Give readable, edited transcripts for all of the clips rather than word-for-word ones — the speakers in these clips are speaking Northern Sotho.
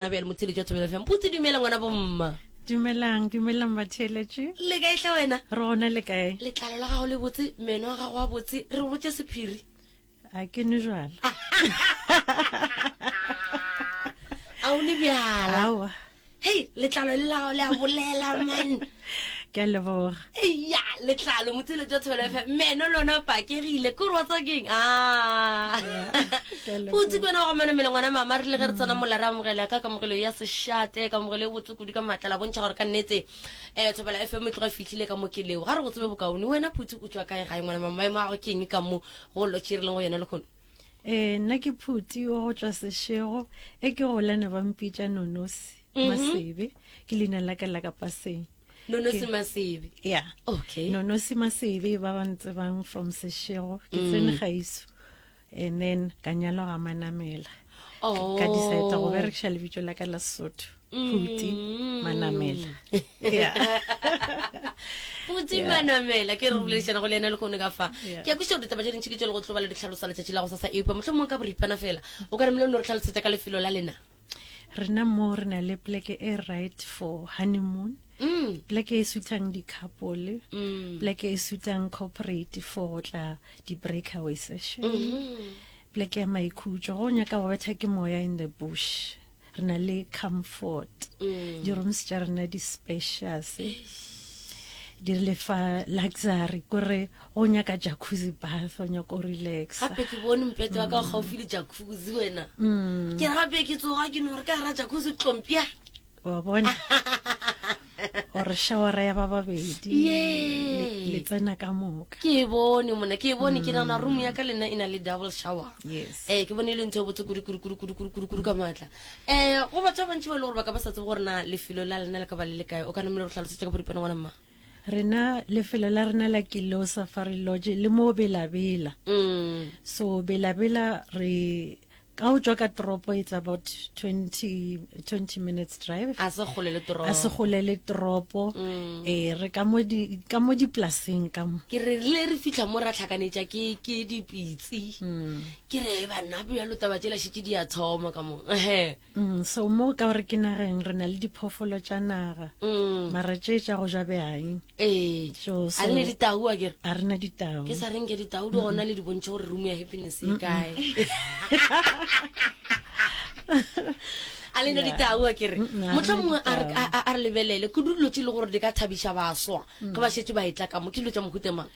Bjale motheeletši wa Thobela FM. Putse dumela ngwana bomma. Dumelang, dumelang batheeletši. Le kae hle wena? Re gona le kae? Letlalo la gago le botse, meno a gago a botse, re botše sephiri. A ke nwe jwala. A o ne bjala? Aowa. Hei, letlalo le la gago le a bolela man. Ke a leboga. Eya, letlalo motheeletši wa Thobela FM. Meno lona pakegile, ke gore wa tseba keng? Ah. Putse ke wena wa go manamela ngwana mama re le ge re tsena mola re amogela ka kamogelo ya sešate kamogelo e botse kudu ka maatla la bontšha gore ka nnete um Thobela FM e tloga e fihlile ka mo ke leo ga re go tsebe bokaone wena Putse o tšwa kae gae ngwana mama maemo a gago ke eng ka mo go lotšhe re leng go yona lekgono Ee, nna ke Phuti wa go tšwa Seshego e ke gola ne ba mpitša Nonosi mhm. Masebe ke leina la ka la ka paseng Nonosi Masebe yeah okay Nonosi Masebe ba ba ntsebang from Seshego ke tsene mm. gaiso and then ka nyalwa ga Manamela oh. ka decide go berekiša lebitso la ka la Sesotho Phuti mm. Manamela yeah Phuti Manamela ke re boledišana go le yena le kgone ka fa ke a kwešiša gore ditaba tše dintši ke tše le go tlo ba le di tlhalosa letšatši la go sasa eupša mohlomongwe ka boripana fela o ka re mele o no re tlhalosetša ka lefelo la lena rena mo re na le pleke e right for honeymoon mm. pleke e sutang di-couple mm. pleke e sutang corporate for go tla di-breakaway session mm -hmm. pleke ya maikhutšo go nyaka go betha ke moya in the bush re na le comfort mm. di-rooms tša rena di spacious di re lefa luxury kore go nyaka jacuzzi bath o nyaka o relaxa gape ke bone mpete wa ka mm. gaufi le jacuzzi wena mm. ke gape ke tsoga ke no re ka gara jacuzzi tlompia wa bona gore shawara ya ba babedi le tsena ka moka ke e bone mona ke e bone ke nagana room ya ka lena e na le double shower yes eh ke bone e le ntho e botse kudu kudu kudu kudu kudu kudu kudu ka maatla eh go batho ba bantši ba e le gore ba ka ba sa tsebe gore na lefelo la lena le ka ba le le kae o ka namele go tlhalosetša ka boripana ngwana mma Rena lefelo la rena la Kilo Safari Lodge le mo Belabela. Mm. So Belabela re ka o tswa ka toropo it's about 20 20 minutes drive. A se gole le toropo. A se gole le toropo. Mm. Eh re ka mo di ka mo dipolaseng ka mo. Ke re rile re fihla mo ra tlhakanetša ke ke dipitsi. Mm. Ke re banna bjalo taba tšela šetše di a thoma ka mo. Ehe. Mm, so mo ka gore ke nageng re na le diphoofolo tša naga mm. mara tše tša go ja bjang ee so, a re ne ditau a kere a re na ditau ke sa reng ke ditau di gona le di bontšhe gore room ya happiness e kae a le ne ditau a kere motlho mongwe a re lebelele ke dilo tse e le gore di ka thabiša baswa ge ba šetse ba etla ka mo ke dilo tša mohuta mang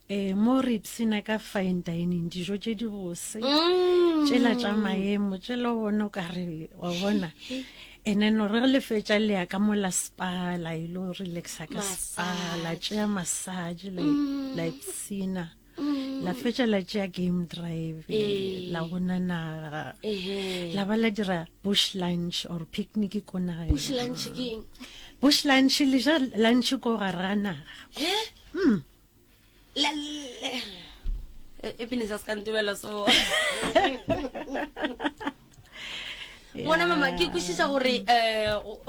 Ee, mo re ipshina ka fine dining, dijo tše di bose, mm. tšela tša maemo, tšela o bona o ka re wa bona. And then re le fetša le ya ka mo la spa, la ilo relaxa ka spa, la tšea massage, la mm. la ipshina. Mm. La fetša la tšea game drive, la bona naga. La ba la dira bush lunch or picnic ko nageng. Bush lunch ke eng? Bush lunch le ja lunch ko gare ga naga. Eh? Mm. happiness a se ka ntebela so ngwana mama ke kwešiša gore um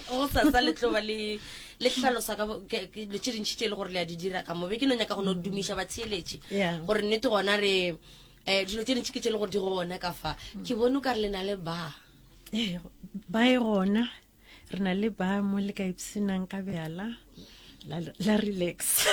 go sasa le tlo ba le le hlalosa ka dilo tše dintšhi tše e le gore le a di dira ka mobe ke no nyaka go no dumiša batheeletše gore nnete gona re um dilo tše dintšhi ke tše e le gore di gona ka fa ke bone o ka re le na le ba ee ba e gona Re na le ba mo le ka ipshinang ka bjala la, la relax.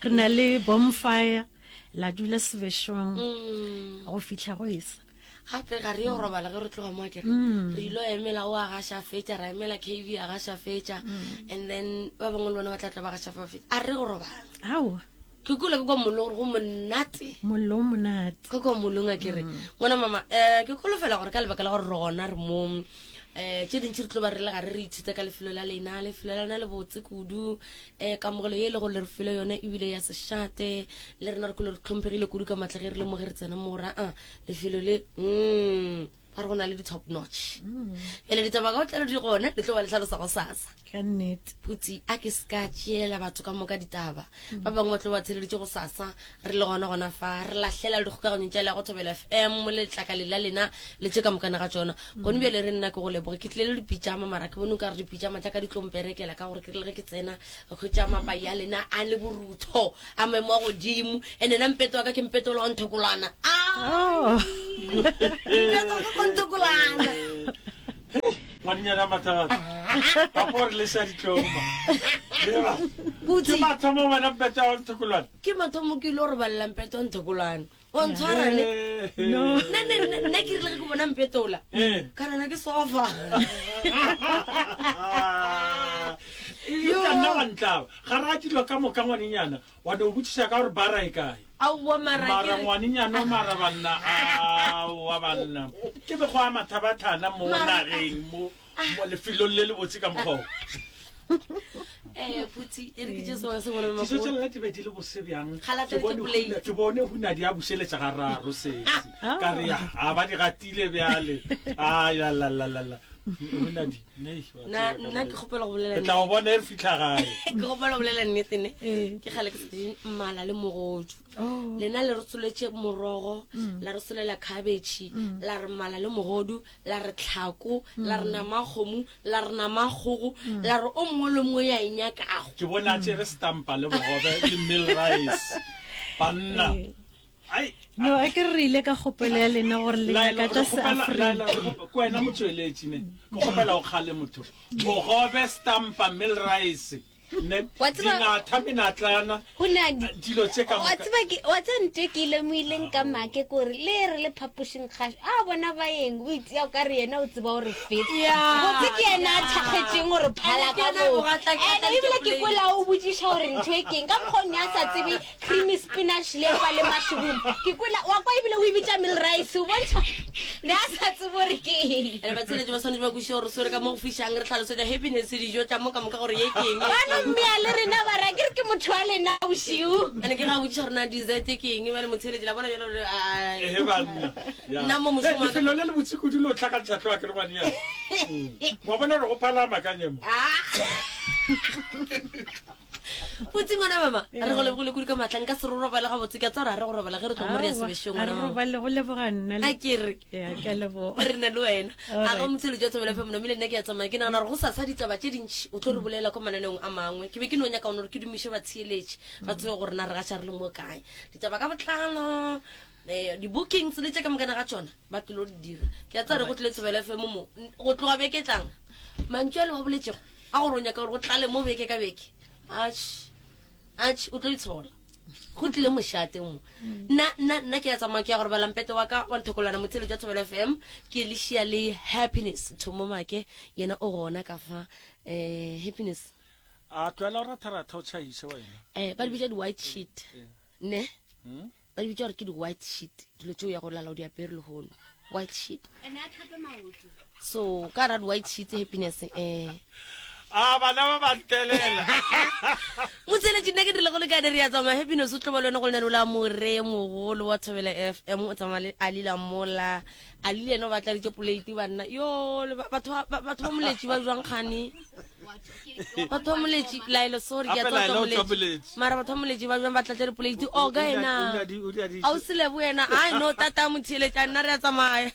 Re na le bonfire la dula sebešong mm. go fihla go esa. Gape ga re yo robala ge re tloga mo akere. Mm. Re ilo emela o a gaša fetša ra emela KV a gaša fetša mm. and then ba bangwe le bona ba tla tla ba gaša fa fetša. A re go robala. Aowa. Ke kula ke kwa mollo gore go monate. Mollo o monate. Ke kwa mollong a kere. Ngwana mama, eh ke kholofela gore ka lebaka la gore rona re mo eh tše dintši re tlo ba re le gare re ithuta ka lefelo la lena, lefelo la lena le botse kudu. Eh kamogelo ye e le gore le re file yone ebile ya sešate. Le rena re kule re tlhomphegile kudu ka matla ge re le mo ge re tsena mo ra a lefelo le mm ba re go na le di-top notch. Bjale ditaba ka botlalo di gona le tlo ba le hlalosa go sasa. Ka nnete. Putsi a ke se ka tšeela batho ka moka ditaba. Ba bangwe ba tlo ba theleditše go sasa re le gona gona fa re lahlela le dikgokaganyong tša le go Thobela FM letlakale la lena le tše ka mokana ga tšona. Gone bjale re nna ke go leboge ke tlile le dipitšama mara ke bone o ka re dipitšama tša ka di tlo mperekela ka gore ke rile ge ke tsena ka hwetša mapai a lena a le borutho a maemo a godimo ene nna mpeto wa ka ke mpeto wa nthokolwana. Oh. Mpeto wa ka ke nthokolwana. Ngwanenyana mathata. Papa o re leša ditlong ma. Eba. Putsi. Ke mathomo wena mpete wa Nthokolwane. Ke mathomo ke ile go robalela mpete wa Nthokolwane. Wa ntshwara ne. No. Nna nna nna nna ke rile ge ke bona mpete ola. Eh. Ka rena ke sofa. Yo. Ka nna wa ntlaba. Ga ra dilo ka moka ngwanenyana. Wa no botšiša ka gore bara e kae. Aowa mara Mara ke re- ngwanenyana mara banna aowa banna. Ke mekgwa ya mathabathana mo Mara- nageng mo mo lefelong le le botse ka mokgwa o. Eh, phuthi e re ke tše sengwe se bone Dijo tša mmakgowa. lena di be di le bose bjang. Ga la Ke tladitše bone plate. huna- Ke bone hunadi a bušeletša ga raro sesi. Ka re ya, a ba di gatile bjale. Ai la la la la la. Hunadi, nei, wa Nna tseba ka nna ke bolela. kgopela go bolela Re tla go bona e re fitlha gae. ke kgopela go bolela nnete ne. Ee. Ke kgale ke sa je mmala le mogodu. Oh. Lena le re soletše morogo, la re solela cabbage, la re mmala le mogodu, la re tlhako, la re nama ya kgomo, la re nama ya kgogo, la re o mongwe le o mongwe ya e nyakago. Ke bona a tšere stampa le bogobe le meal rice. Banna. Ee. Ai. No, a ke re ile ka kgopelo ya lena gore le Laela, nyaka tša re kgopela- Seafrika. Laela, re kgope- ke wena motsweletši ne ke kgopela o kgale motho bogobe stampa meal rice ne Wa tseba- dinatha menatlana Go na di- dilo tše ka wa moka tseba ke wa tseba ntho e ke e lemoileng ka make kore le re le phapošing kgašo a bona baeng o itseya o ka re yena o tseba gore feta botse ke yena a thakgetšeng gore phala Ene ke ka yena a moo bogatla- ke ene atla ebile ke ke kwela o botšiša gore ntho e keng ka mokgwa o ne a sa tsebe Creamy spinach le ba le mushroom. Ke kwela wa kwa ebile o e bitša meal rice o bontšha ne a sa tsebe gore ke eng. Ene batsheletši ba swanetše ba kwešiše gore re swere ka mo go fišang re hlalosetša happiness dijo tša mo ka moka gore ye ke eng. Ba no mmea le rena ba ra ke re ke motho wa lena bošego. Ene ke ga botšiša gore na dessert ke eng bjale motsheletši la bona bjale gore ai. Ehe banna. Ya. Nna mo mošomo wa ka- Lefelo le le botse kudu le o tlhakantšha hlogo ke re ngwanenyana. Wa bona gore go phala makanye mo. Ah. Putsi ngwana mama, re go lebogile kudu ka maatla nka se re robale gabotse ke a tseba gore ga re go robala ge re tlo mo re ya sebešong a re ngwana mama. robale go leboga nna A ke re ya ke a leboga re na le wena All a ga right. motsheletši wa Thobela FM namile nna ke a tsamaya ke nagana gore go sasa ditaba tše dintši o tlo re bolela ko mananeong a mangwe ke be ke no nyaka gone gore ke dumiše batheeletši ba tsebe gore na re gaša re le mo kae ditaba ka botlalo um di-bookings le tše ka mokana ga tšona ba tlilo di dira ke a tseba re go tlile Thobela FM mo go tloga beke e tlang mantšu a le wa boletšego A gore o nyaka gore go tlale mo beke ka beke. Atšhe, atšhe, o tlo itshola. Go tlile mošate mo. Nna, nna, nna ke ya tsamaya ke ya go robala mpete wa ka wa nthokolwana motheletši wa Thobela FM. Ke le šia le Happiness Thomo Make, yena o gona ka fa. Eh, Happiness. A tlohela go ratharatha o tšhaiše wena. Eh, ba di bitša di-white sheet. Ne? Ba di bitša gore ke di-white sheet, dilo tšeo ya go lala o di apere lehono. White sheet. So, ka ra di-white sheet happiness eh. A bana ba ba ntelela. Motseletši nna ke dirile go lekane re ya tsamaya happiness o tlo ba le wena go lenaneo la more mogolo wa Thobela FM o tsamaya le Ali Lamola. Ali le yena o ba tladitše poleiti banna. Yo le ba- batho ba ba- batho ba moletši ba jwang kgane? Batho ba moletši Laelo sorry ke a Gape tseba Laelo o batho tswa ba moletši. Moletši. Mara batho ba moletši ba jwang ba tlatša dipoleiti oka O- o- ena. o- o- o- o- Ausi Lebo yena ai no tata motheeletša nna re a tsamaya.